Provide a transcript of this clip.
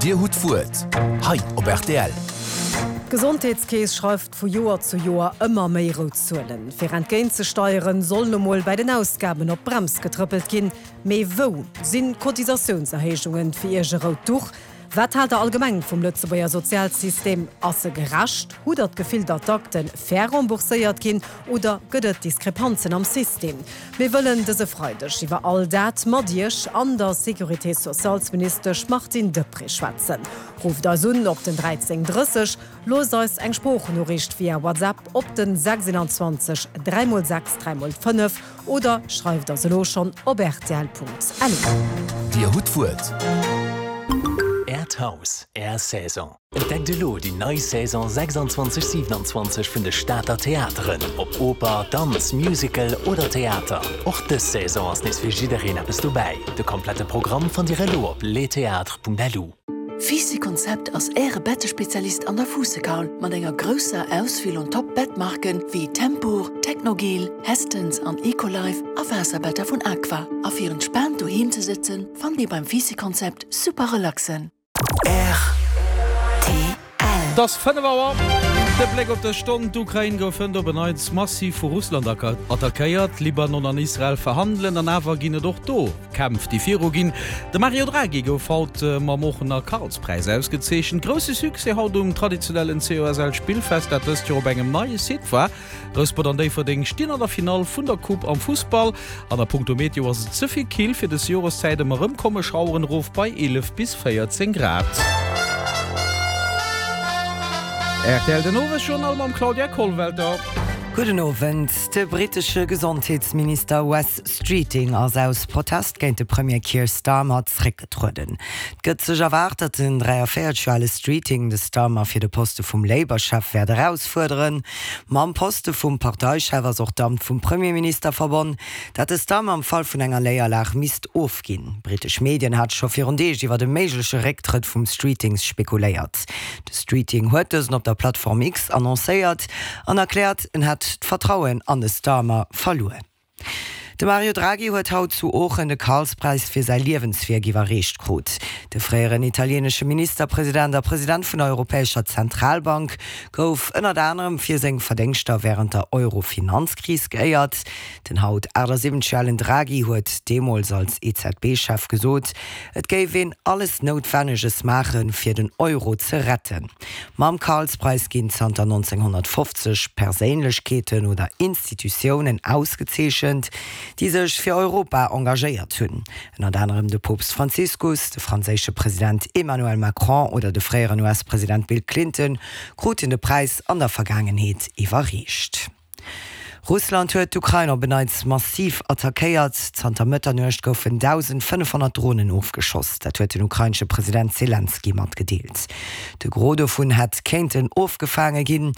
Dir hutt d'Wuert hei op rtl. D'Gesondheetskeess schreift vu Joer zu Joer ëmmer méi rout Zuelen. Fir entgéint ze steieren, soll lo mol bäi den Ausgaben op d'Brems getrëppelt ginn. Mee wou sinn d'Cotisatiounserhéijungen fir Iech e rout Duch? Wat haalt der allgemeng vum Lëtzebuerger Sozialsystem? Ass e gerecht? Hutt der d'Gefill, datt d'Akte fair rembourséiert ginn oder gëtt et Diskrepanzen am System? Mir wëllen dëse Freideg iwwer all dat mat Iech an der Sécurité socialsministesch Martine Deprez schwätzen. Rufft eis un op den 13 30, loosst eis eng Sproochnoriicht via WhatsApp op den 26 3 x 6 3 x 5 Oder schreift eis elo schonn op rtl.lu. Dir hutt d'Wuert. Äert Haus, Är Saison. Entdeckt elo déi nei Saison 26, 27 vun de Stater Theateren. Ob Oper, Danz, Musical oder Theater, och dës Saison ass nees fir jiddereen eppes dobäi. De komplette Programm fannt Dir elo op lestheatres.lu. Fisi Konzept ass Äre Bettespezialist an der Fuussekaul mat enger grousser Auswiel un Top Bettmarken wéi Tempur, Technogel, Hästens an Ecolife a Waasserbetter vun Aqua. A fir entspaant doheem ze sëtzen, fannt Dir beim Fisi Konzept super relaxen. Rtl. Et ass 5 Auer. De Bléck op dës Stonn, D'Ukrain gouf hënt op en Neits massiv vu Russland attackéiert. Libanon an Israel verhandelen an awer ginn et och do Kämpf, déi viru ginn. De Mario Draghi gouf haut mam Oochener Karlspräis ausgezeechent. Grousse Succès haut um traditionellen COSL-Spillfest, dat dëst Joer op engem neie Site war. Rouspert an Déifferdeng stinn an der Finall vun der Coupe am Fussball. An a punkto Meteo ass et ze vill kill fir des Joreszäit, ëmmer erëm komme Schaueren erof bei 11 bis 14 Grad. Rtl den Owesjournal mam Claudia Kollwelter. Gudden Owend. De brittesche Gesondheetsminister Wes Streeting ass aus Protest géint de Premier Keir Starmer zréckgetrueden. Et gëtt sech erwaart, datt den 43 Joer ale Streeting de Starmer fir de Poste vum Labour-Chef wäert erausfuerderen. Mam Poste vum Parteichef ass och d'Amt vum Premierminister verbonn, dat de Starmer am Fall vun enger Néierlag misst ofginn. Brittesch Medien hate scho virun Deeg iwwer e méigleche Récktrëtt vum Streetings spekuléiert. De Streeting huet dësen op der Plattform X annoncéiert an erkläert, en hätt d'Vertrauen an de Starmer verluer. De Mario Draghi huet haut zu Oochen de Karlspräis fir säi Liewenswierk iwwerreecht krut. De fréieren italienesche Ministerpresident a President vun der Europäescher Zentralbank gouf ënnert anerem fir seng Verdéngschter wärend der Euro-Finanzkris geéiert. Den haut 78 Joer alen Draghi huet deemools als EZB-Chef gesot, et géif een alles Noutwenneges maachen, fir den Euro ze retten. Mam Karlspreis ginn zanter 1950 Perséinlechkeeten oder Institutiounen ausgezeechent, déi sech fir Europa engagéiert hunn. Ënnert anerem de Poopst Franziskus, de franséische President Emmanuel Macron oder de fréieren US-President Bill Clinton kruten de Präis an der Vergaangenheet iwwerreecht. Russland huet d'Ukrain op en Neits massiv attackéiert. Zanter Mëtternuecht goufen 1.500 Dronen ofgeschoss. Dat huet den ukrainesche President Selenskyj matgedeelt. De Gros dovun hätt kéinten ofgefaange ginn.